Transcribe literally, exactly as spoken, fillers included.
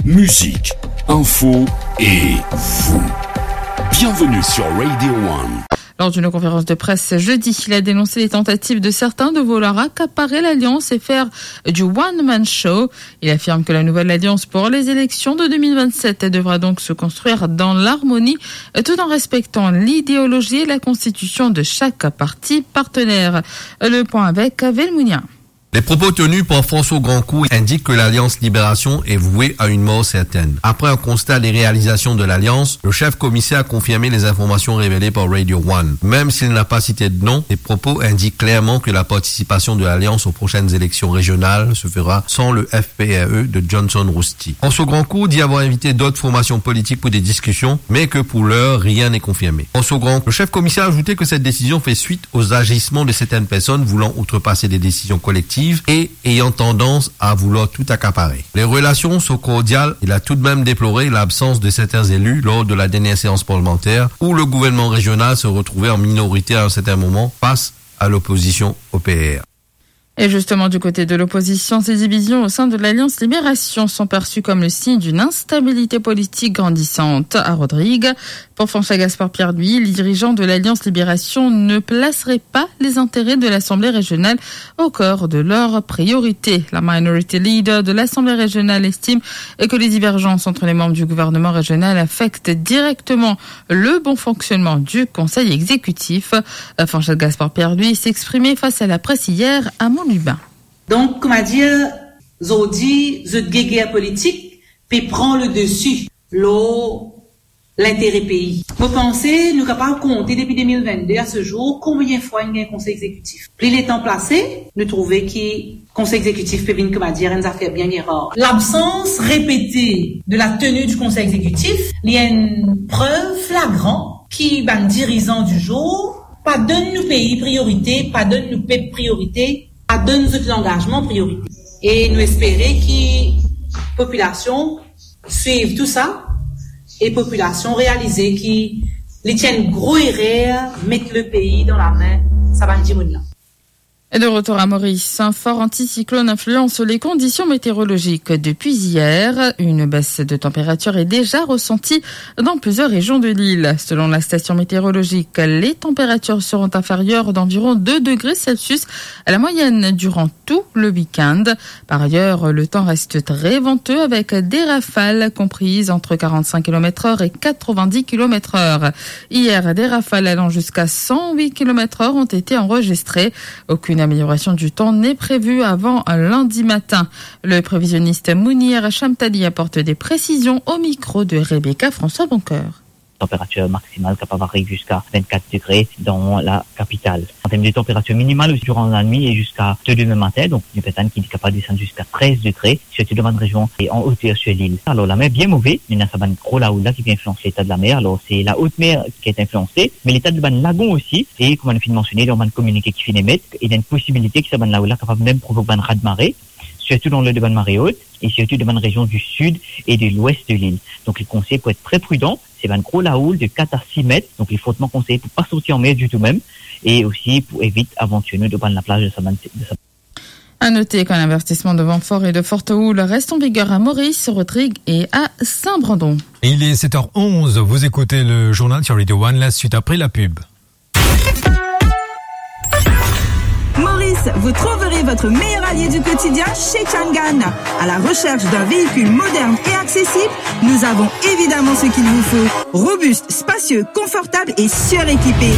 Musique, info et vous. Bienvenue sur Radio One. Lors d'une conférence de presse jeudi, il a dénoncé les tentatives de certains de vouloir accaparer l'Alliance et faire du one-man show. Il affirme que la nouvelle Alliance pour les élections de deux mille vingt-sept devra donc se construire dans l'harmonie, tout en respectant l'idéologie et la constitution de chaque parti partenaire. Le point avec Velmounia. Les propos tenus par François Grandcourt indiquent que l'Alliance Libération est vouée à une mort certaine. Après un constat des réalisations de l'Alliance, le chef commissaire a confirmé les informations révélées par Radio One. Même s'il n'a pas cité de nom, ses propos indiquent clairement que la participation de l'Alliance aux prochaines élections régionales se fera sans le F P R E de Johnson Rousty. François Grandcourt dit avoir invité d'autres formations politiques pour des discussions, mais que pour l'heure, rien n'est confirmé. François Grandcourt, le chef commissaire, a ajouté que cette décision fait suite aux agissements de certaines personnes voulant outrepasser des décisions collectives et ayant tendance à vouloir tout accaparer. Les relations sont cordiales. Il a tout de même déploré l'absence de certains élus lors de la dernière séance parlementaire où le gouvernement régional se retrouvait en minorité à un certain moment face à l'opposition au P R. Et justement, du côté de l'opposition, ces divisions au sein de l'Alliance Libération sont perçues comme le signe d'une instabilité politique grandissante. À Rodrigues, pour François Gaspard Pierre-Louis, les dirigeants de l'Alliance Libération ne placeraient pas les intérêts de l'Assemblée régionale au cœur de leurs priorités. La minority leader de l'Assemblée régionale estime que les divergences entre les membres du gouvernement régional affectent directement le bon fonctionnement du Conseil exécutif. Euh, François Gaspard Pierre-Louis s'exprimait face à la presse hier à Mont-Lubin. Donk, koumadir, zordi, zot geger politik pe pran le desi lor lintere pei. Mo panse nou kapav konte depi de mil vennde a se zour konbien fwa inn gagn Konsey Egzekitif. Pli letan pase, nou trouve ki Konsey Egzekitif pe vinn, koumadir, enn zafer bien, bien rar. Labsans repete de la tenue du Conseil Exécutif, li enn prev flagran ki bann dirizan du jour pa donn nou pei priorite, pa donn nou pep priorite, pa donn zot langazman priorite. E nou espere ki popilasion swiv tou sa e popilasion realize ki li ti enn gro erer met le pei dan lame sa bann dimoun la. Et de retour à Maurice, un fort anticyclone influence les conditions météorologiques depuis hier. Une baisse de température est déjà ressentie dans plusieurs régions de l'île. Selon la station météorologique, les températures seront inférieures d'environ deux degrés Celsius à la moyenne durant tout le week-end. Par ailleurs, le temps reste très venteux avec des rafales comprises entre quarante-cinq kilomètres heure et quatre-vingt-dix kilomètres heure. Hier, des rafales allant jusqu'à cent huit kilomètres heure ont été enregistrées. Aucune amélioration du temps n'est prévue avant lundi matin. Le prévisionniste Mounir Chamtali apporte des précisions au micro de Rebecca François Boncoeur. Température maximale capable d'arriver jusqu'à vingt-quatre degrés dans la capitale. En termes de température minimale, durant la nuit et jusqu'à demain matin, donc une personne qui est capable de descendre jusqu'à treize degrés, surtou dan bann rezion e an oter sir lil. Alor, lamer bien move, ena sa bann gro lahoul la ki pe inflians leta de lamer. Alor, se la haute mer ki ete inflianse, me leta de bann lagon osi, e kouma nou finn mansione dan bann kominike ki finn emet, ena enn posibilite ki sa bann lahoul la kapav mem provok bann raz-de-mare, sirtou dan le de bann mare ot, e sirtou dan bann rezion du sud e de lwes de lil. Donk, li konseye pou et tre pridan, se bann gro lahoul de kat a sis met, donk li fortman konseye pou pa sorti anmer ditou mem, e osi pou evit avantir nou dan bann laplaz de sa bann, de sa À noter qu'un avertissement de vent fort et de forte houle reste en vigueur à Maurice, Rodrigues et à Saint-Brandon. Il est sept heures onze, vous écoutez le journal sur Radio One, la suite après la pub. Maurice, vous trouverez votre meilleur allié du quotidien chez Changan. À la recherche d'un véhicule moderne et accessible, nous avons évidemment ce qu'il vous faut. Robuste, spacieux, confortable et suréquipé.